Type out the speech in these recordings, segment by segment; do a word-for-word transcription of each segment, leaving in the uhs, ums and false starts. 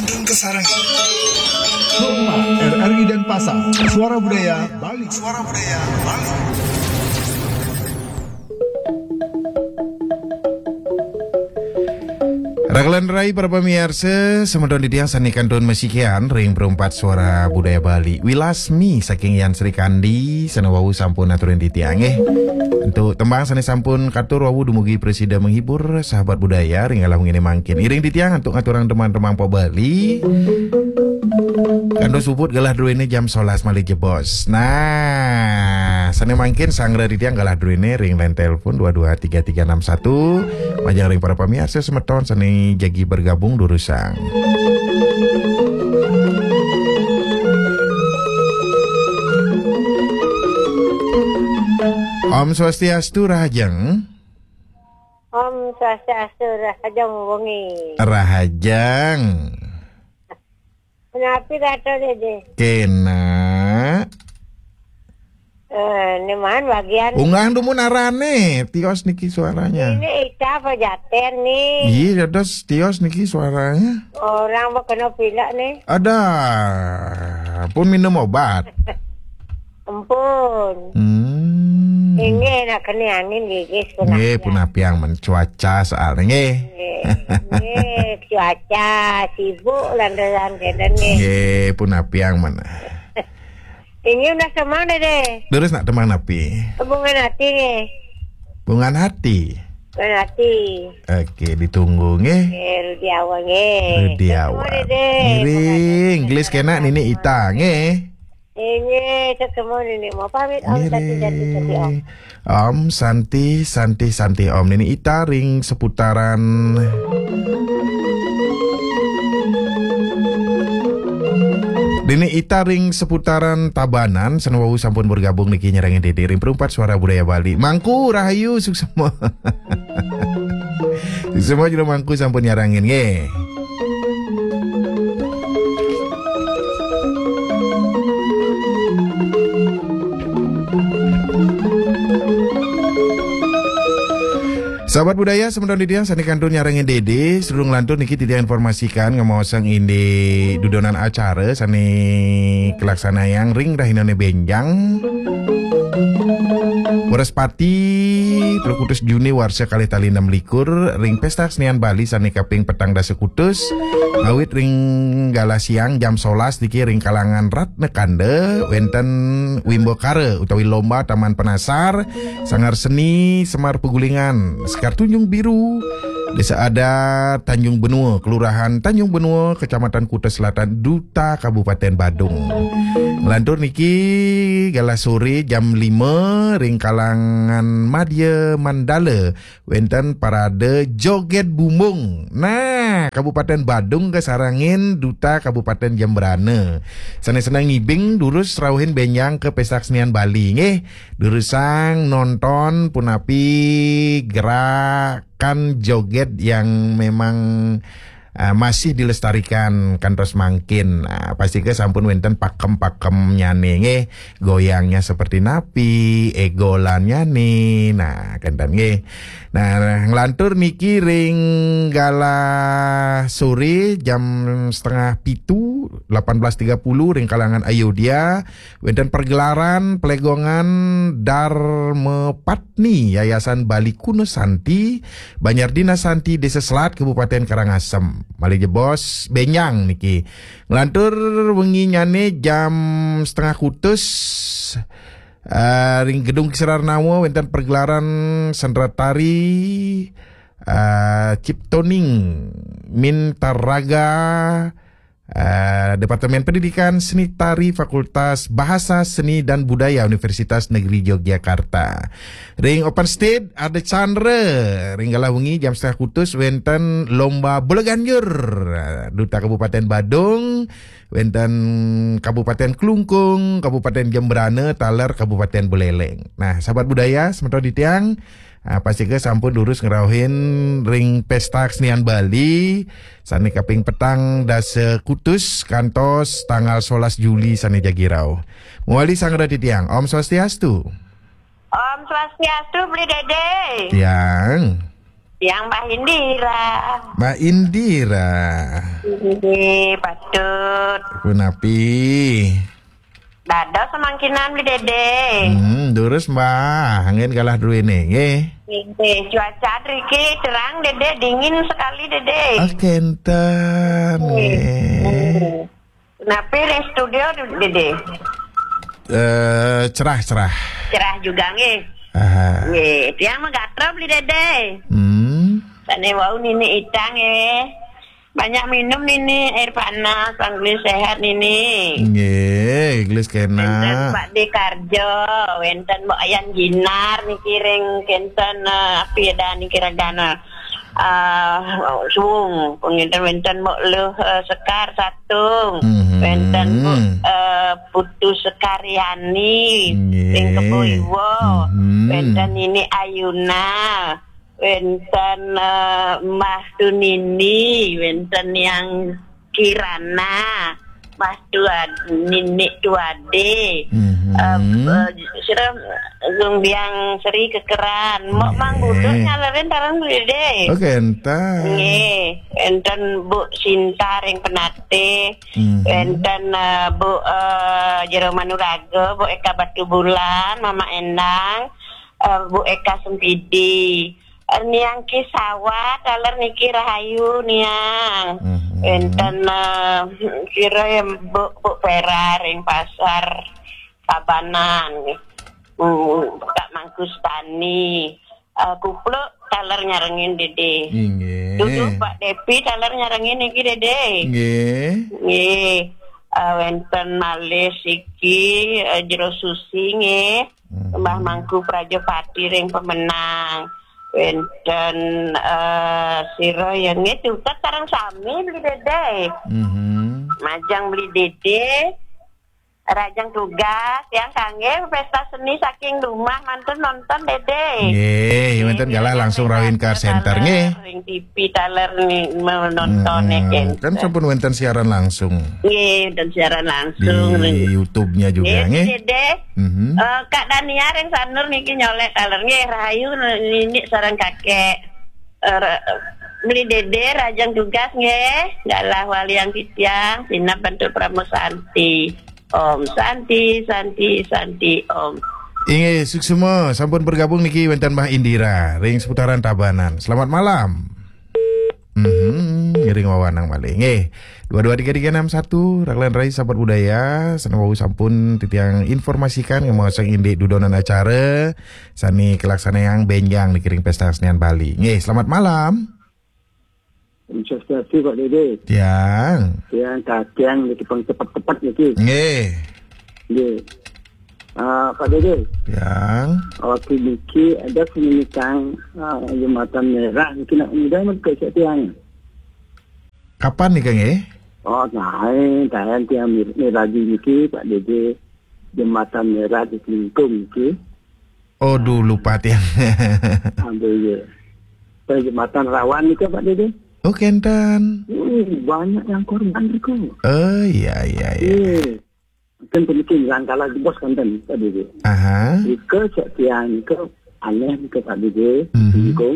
Sarang. R R I Denpasar, Suara Budaya Bali. Suara Budaya Bali. Rakelan rai para pamiarsa, semeton titiang sané kantun masikian ring Perumpat Suara Budaya Bali. Wilasmi saking Yan Sri Kandi, sané wau sampun aturin titiang, nggih. Antuk tembang sané sampun katur wau dumugi prasida menghibur sahabat budaya ring galah wenginé mangkin. Iring titiang antuk ngaturang tembang-tembang pop Bali. Kantos puput galah druéné jam solas malih jebos. Nah, sané mangkin sanggra titiang galah druéné ring line telepon dua dua tiga tiga enam satu. Majeng ring para pamiarsa semeton sané jagi bergabung durusang. Om Swastiastu, rahajeng. Om Swastiastu, rahajeng wengi. Rahajeng. Punapi kato, Dédé? Kénak. Eh, né maan bagian. Unggahang dumun arané, tios niki suaranya. Ini Ita apa Jater nih? Iya, dados tios niki suaranya. Orang mau kena pilek nih. Ada. Pun minum obat. Ampun. Hmm. Inggih, nak kena angin gigis pun. Nggih, apian. Pun apiang men cuaca soalnya nggih. Nggih, nggih, cuaca sibuk lantaran kenten nggih. Nggih, pun apiang men. Inggih, udah semang, Dédé. Terus nak temang napi? Hubungan hati nggih. Hubungan hati. Hubungan hati. Oke, ditunggu nggih. Nggih, Rudi Awa nggih. Rudi Awa. Ketemu, Dédé. Ngiring, gelis kénak Nini Ita nggih. Inggih, ketemu Nini. Mau pamit, Om Santi, Santi, Santi, Om. Ngiring. Om Santi, Santi, Santi, Om. Nini Ita ring seputaran, Nini Ita ring seputaran Tabanan, sané wau sampun bergabung niki nyarengin Dédé ring Perumpat Suara Budaya Bali. Mangku, rahayu, suksma. Suksma jero Mangku sampun nyarengin nggih. Sahabat budaya, semeton titiang sané kantun nyarengin Dédé, sadurung lantur niki titiang informasikan ngamaosang indik dudonan acara sané kalaksanayang ring rahinané bénjang. Wrespati, telu kutus Juni warsa kalih tali enam likur, ring Pésta Kesenian Bali sané kaping petang dasa kutus, ngawit ring galah siang jam solas niki ring kalangan Ratna Kanda, wénten Wimbakara utawi lomba Taman Penasar, Sanggar Seni Semar Pegulingan, Sekar Tanjung Biru, Desa Adat Tanjung Benua, Kelurahan Tanjung Benua, Kecamatan Kuta Selatan, Duta Kabupaten Badung. Nglantur niki galah sore jam lima ring kalangan Madya Mandala, wénten parade joget bumbung. Nah, Kabupaten Badung kasarengin Duta Kabupaten Jembrana. Sané seneng ngibing durus rauhin bénjang ka Pésta Kesenian Bali nggih. Durusang nonton punapi gerakan joget yang memang, eh, masih dilestarikan kantos mangkin. Nah, pastika sampun wénten pakem-pakemnyané nggih. Goyangnya seperti napi, égolannya nih. Nah, kenten nggih. Nah, nglantur niki ring galah sore jam setengah pitu, delapan belas tiga puluh, ring kalangan Ayodhya, wénten pergelaran pelegongan Dharma Patni Yayasan Bali Kuno Santi, Banjar Dinas Santi, Desa Selat, Kabupaten Karangasem. Malih jebos bénjang niki. Nglantur wenginnyané jam setengah kutus, eh, ring Gedung Kisararnawa wénten pergelaran sendera tari, eh, Ciptoning Mintaraga, eh, Departemen Pendidikan Seni Tari Fakultas Bahasa Seni dan Budaya Universitas Negeri Yogyakarta. Ring Open Stage ada Chandra, ring galah wengi jam setengah kutus wénten lomba bola ganjur. Duta Kabupaten Badung, wénten Kabupaten Klungkung, Kabupaten Jembrana, taler Kabupaten Buleleng. Nah, sahabat budaya, semeton titiang, ah, pastika sampun durus ngrauhin ring Pésta Kesenian Bali, sané kaping petang dasa kutus kantos tanggal solas Juli sané jagi rauh. Mawali sanggra titiang. Om Swastiastu. Om Swastiastu, Bli Dédé. Tiang. Tiang Mbah Indira. Mbah Indira. Nggih, patut. Punapi? Dados samangkinan Beli Dede. Hmm, durus, Mbah. Angin kalah druene, nggih. Nggih, cuaca driki terang, Dede, dingin sekali, Dede. Ah, kenten, nggih. Nggih. Napi ring studio, Dede? Eh, cerah, cerah. Cerah juga, nggih. Aha. Nggih, tiang magatra Beli Dede. Hmm. Sane wau nini itang, nggih. Banyak minum nini air panas, anggun sehat nini. Nggih, gelis kena. Wenten Pak De Karjo, wenten Mbok Ayan Ginar niki ring kenten, eh, api ada niki ragana. Ah, Sung, penginten wenten Mbok Luh, eh, Sekar Satung, mhm, wenten Bu, eh, Putu Sekariani, nggih, ring Kebo Iwa, mhm, wenten Nini Ayuna, wenten, eh, Mbah Tunini, wenten Yang Kirana, Mbah Tuad-, Nini Tuade. Mhm. Eh, eh, sira Lumbiang Sri Kekeran. Mbok, nggih, Mang Budut nyalerin taler Beli Dede. Oh, kenten. Nggih, wenten Bu Sinta ring Penatih. Mhm. Wenten, eh, Bu, eh, Jero Manuraga, Bu Eka Batubulan, Mama Endang, eh, Bu Eka Sempidi. Eh, Niang Ki Sawat, taler niki rahayu, Niang. Mhm. Wenten, eh, sira ya, Bu, Bu Vera ring Pasar Tabanan. Hmm, Kak Mangkustani. Eh, Kupluk taler nyarengin Dede. Inggih. Dudu Pak Depi taler nyarengin niki Dede. Inggih. Nggih. Eh, wenten malih siki, eh, Jero Susi nggih. Mhm. Mbah Mangku Prajapati ring Pemenang. Wenten, eh, sira ya nggih, tutet sareng sami Beli Dede. Mhm. Majeng Beli Dede, rajeng tugas, tiang kangge pesta seni saking rumah mantun nonton Dede. Nggih, wenten galah langsung rawin call center, nggih. Ring T V taler ni menonton, mm-mm, nggih. Kan sampun wenten siaran langsung. Nggih, wenten siaran langsung di YouTube-nya juga, nggih, nggih. Dede. Mhm. Eh, Kak Dania ring Sanur niki nyolek taler nggih, rahayu nini sareng kakek. Eh, ra-, Beli Dede rajeng tugas nggih, galah waliang titiang, sineb bantu Parama Santi. Om Santi, Santi, Santi, Om. Inggih, suksma sampun bergabung niki wenten Mbah Indira ring seputaran Tabanan. Selamat malam. Mhm, ngiring wawanang malih. Nggih. Dua dua tiga tiga enam satu, Raglan Rai Sahabat Budaya, sane wau sampun titiang informasikan ngemaosang indik dudonan acara sane kalaksanayang benjang niki ring Pesta Kesenian Bali. Nggih, selamat malam. Om Swastiastu, Pak Dede. Tiang. Tiang kakiang niki pang tepet-tepet niki. Nggih. Nggih. Ah, Pak Dede. Tiang. Waktu niki ada penyitaan, ah, Jembatan Merah niki nak mudah men ke tiang. Kapan nika nggih? Oh, nah, tahan tiang mir-, miragi niki, Pak Dede. Jembatan Merah di Klungkung niki. Oh, dulu Pak tiang. Ambil ya. Jembatan Rawan niki, Pak Dede. Oh, kenten. Hmm, banyak yang korban niku. Oh, iya, iya, iya. Iya. Mungkin penting langkala jebos kenten, Pak Dede. Aha. Nika cek tiang nika aneh nika, Pak Dede. Mhm. Nika.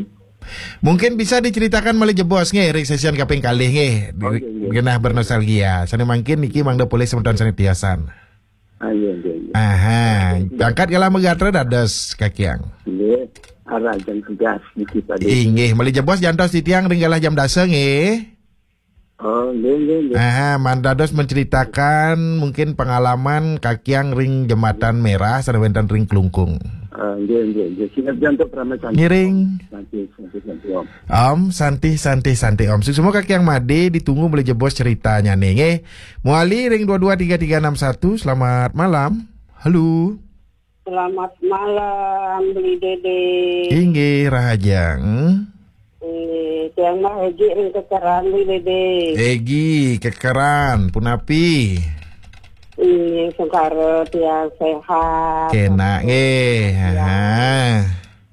Mungkin bisa diceritakan malih jebos nggih, ring sesian kaping kalih nggih. Oh, nggih, nggih. Genah bernostalgia. Sane mangkin niki mangda polih semeton sane tiosan. Ah, iya, iya, iya. Aha, angkat galah magatra dados kakiang. Nggih, arah jam tugas niki, Pak Dede. Inggih, malih jebos jantos titiang ring galah jam dasa nggih. Oh, nggih, nggih, nggih. Aha, mandados menceritakan mungkin pengalaman kakiang ring Jembatan Merah sane wenten ring Klungkung. Ah, nggih, nggih, nggih. Sineb jantos Parama Santi. Ngiring. Santi, Santi, Santi, Om. Om, Santi, Santi, Santi, Om. Suksma kakiang Made, ditunggu malih jebos ceritanyane nggih. Mawali ring dua dua tiga tiga enam satu. Selamat malam. Halo. Selamat malam, Beli Dede. Inggih, rahajeng. Inggih, tiang mah Egi ring Kekeran, Beli Dede. Egi, Kekeran, punapi? Inggih, sungkara tiang sehat. Kenak nggih. Tiang, aha,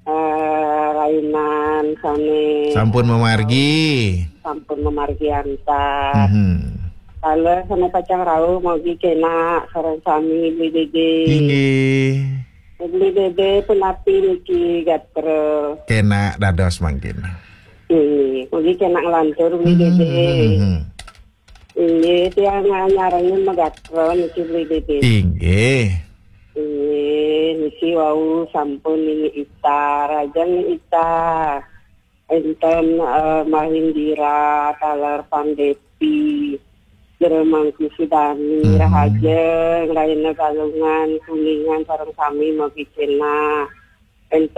eh, rainan sane sampun mamargi. Sampun mamargi antar. Mhm. Kala sane pacang rauh, mugi kenak sareng sami, Beli Dede. Inggih. Beli Dede, punapi niki gatra? Kenak dados mangkin. Nggih, mungkin kena ngelantur, Beli Dede. Hmm. Nggih, tiang nyarengin Megatron niki, Beli Dede. Inggih. Nggih, niki wau sampun Nini Ita, rajang Nini Ita. Enten eh, Mahindira, taler Pandepi, Jero Mangku Sudani, Mhm. Rahajeng, Raina Galungan, Kuningan, sareng sami mogi cenah. Enten